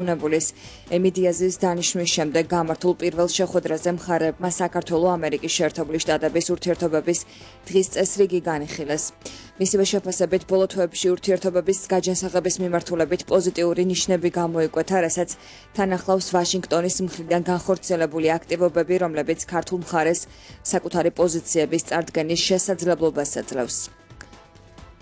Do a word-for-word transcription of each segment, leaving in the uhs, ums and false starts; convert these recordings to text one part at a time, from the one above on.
უნებულის ემიდიაზის დანიშვნის შემდეგ გამართულ პირველ შეხვედრაზე მხარეებმა საქართველო-ამერიკის შეერთებული შტატების ურთიერთობების დღის წესრიგი განიხილეს. მისივე შეფასებით ბოლო თვეებში ურთიერთობების გაჯანსაღების მიმართულებით პოზიტიური ნიშნები გამოიკვეთა, რასაც თან ახლავს ვაშინგტონის მხრიდან განხორციელებული აქტივობები, რომლებიც ქართულ მხარეს საკუთარი პოზიციების წარდგენის შესაძლებლობას აძლევს.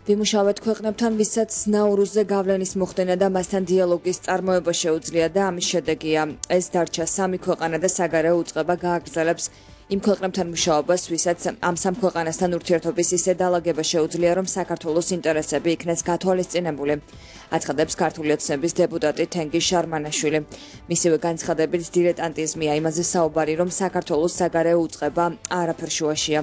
ვიმუშავეთ ქვეყნებთან, ვისაც ნაურუზზე გავლენის მოხდენა და მასთან დიალოგის წარმოება შეუძლია და ამის შედეგია ეს დარჩა სამი ქვეყანა და საგარეო უწყება გააგრძელებს იმ ქვეყნებთან მუშაობას, ვისაც ამ სამ ქვეყანასთან ურთიერთობის ისე დალაგება შეუძლია, რომ საქართველოს ინტერესები იქნეს გათვალისწინებული, აცხადებს ქართული ოცნების დეპუტატი თენგიზ შარმანაშვილი. მისივე განცხადებით დილეტანტიზმია იმაზე საუბარი, რომ საქართველოს საგარეო უწყება არაფერ შუაშია.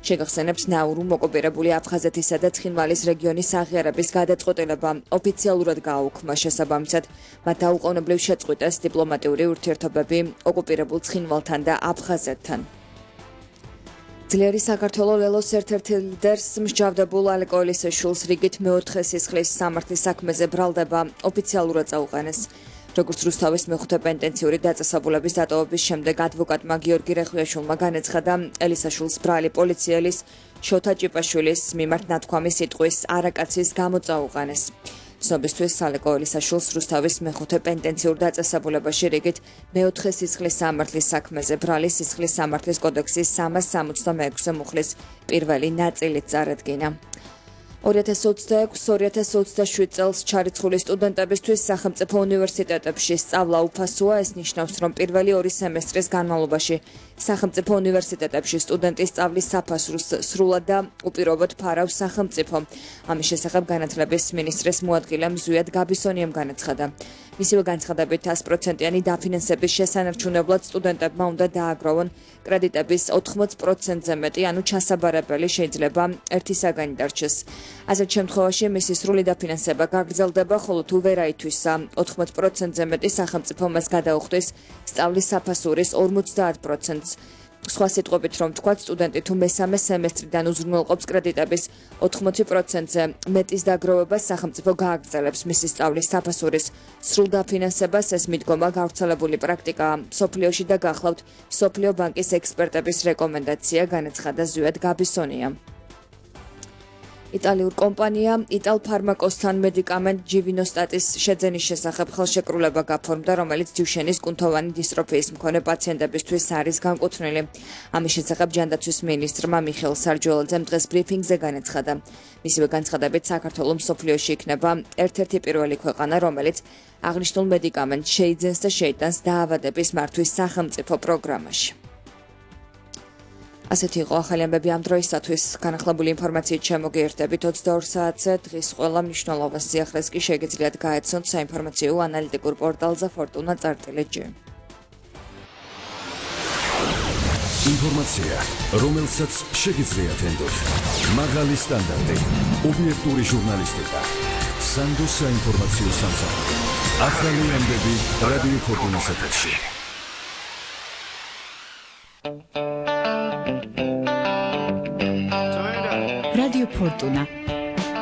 შეგახსენებს ნაურუმ ოკუპირებული აფხაზეთისა და ცხინვალის რეგიონის აღიარების გადაწყვეტილება ოფიციალურად გააუქმა, შესაბამისად მათ დაუყოვნებლივ შეწყვიტეს დიპლომატიური ურთიერთობები ოკუპირებულ ცხინვალთან და აფხაზეთთან. ძლიერი საქართველო ლელოს ერთ-ერთი ლიდერს მსჯავრდებულ ალეკ ელისაშვილს რიგით მეოთხე სისხლის სამართლის საქმეზე ბრალდება ოფიციალურად წაუყენეს. როგორც რუსთავის მეხუთე პენტენციური დაწესებულების დატოვების შემდეგ ადვოკატმა გიორგი რეხვიაშვილმა განაცხადა, ელისაშვილს ბრალი პოლიციელის შოთა ჭიპაშვილის მიმართ ნათქვამი სიტყვის არაკაცის გამო წაუყენეს. ცნობისთვის ალეკ ელისაშვილს რუსთავის მეხუთე პენტენციურ დაწესებულებაში რიგით მეოთხე სისხლის სამართლის საქმეზე ბრალი სისხლის სამართლის კოდექსის სამას სამოცდამეექვსე მუხლის პირველი ნაწილით წარადგინა. ორი ათას ოცდაექვსი ორი ათას ოცდაშვიდ წელს ჩარიცხული სტუდენტებისთვის სახელმწიფო უნივერსიტეტებში სწავლა უფასოა. ეს ნიშნავს, რომ პირველი ორი სემესტრის განმავლობაში სახელმწიფო უნივერსიტეტებში სტუდენტის სწავლის საფასურს სრულად და უპირობოდ ფარავს სახელმწიფო. ამის შესახებ განათლების მინისტრის მოადგილემ ზვიად გაბისონიამ განაცხადა. მისივე განცხადებით ას პროცენტიანი დაფინანსების შესანარჩუნებლად სტუდენტებმა უნდა დააგროვონ კრედიტების ოთხმოც პროცენტზე მეტი, ანუ ჩასაბარებელი შეიძლება ერთი საგანი დარჩეს. ასეთ შემთხვევაში მისი სრული დაფინანსება გაგრძელდება, ხოლო თუ ვერ აითვისა ოთხმოც პროცენტზე მეტი, სახელმწიფო მას გადაუხდის სწავლის საფასურის ორმოცდაათ პროცენტს. სხვა სიტყვებით რომ თქვათ, სტუდენტი თუ მესამე სემესტრიდან უზრუნველყოფს კრედიტების ოთხმოცი პროცენტზე მეტის დაგროვებას, სახელმწიფო გააგრძელებს მისი სწავლის საფასურის სრულ დაფინანსებას. ეს მიდგომა გავრცელებული პრაქტიკაა მსოფლიოში და გახლავთ მსოფლიო ბანკის ექსპერტების რეკომენდაცია, განაცხადა ზვიად გაბისონია. იტალიურ კომპანია იტალფარმაკოსთან მედიკამენტ ჯივინოსტატის შეძენის შესახებ ხელშეკრულება გაფორმდა, რომელიც ჯივშენის კუნთოვანი დისტროფიის მქონე პაციენტებისთვის არის განკუთვნილი. ამის შესახებ ჯანდაცვის მინისტრმა მიხეილ სარჯველაძემ დღეს ბრიფინგზე განაცხადა. მისივე განცხადებით საქართველო მსოფლიოში იქნება ერთ-ერთი პირველი ქვეყანა, რომელიც აღნიშნულ მედიკამენტს შეიძენს და შეიტანს დაავადების მართვის სახელმწიფო პროგრამაში. ასეთი იყო ახალი ამბები ამ დროისათვის. განახლებული ინფორმაციით შემოგიერთებით ოცდაორ საათზე. დღის ყველა მნიშვნელოვან სიახლეს კი შეგიძლიათ გაეცნოთ საინფორმაციო ანალიტიკურ პორტალზე ფორტუნა წარტილი ჯი. ინფორმაცია, რომელსაც შეგიძლიათ ენდოთ. მაღალი სტანდარტი, ობიექტური ჟურნალისტიკა, სანდო საინფორმაციო სამსახური. ახალი ამბები რადიო ფორტუნას ეთერში. Radio Fortuna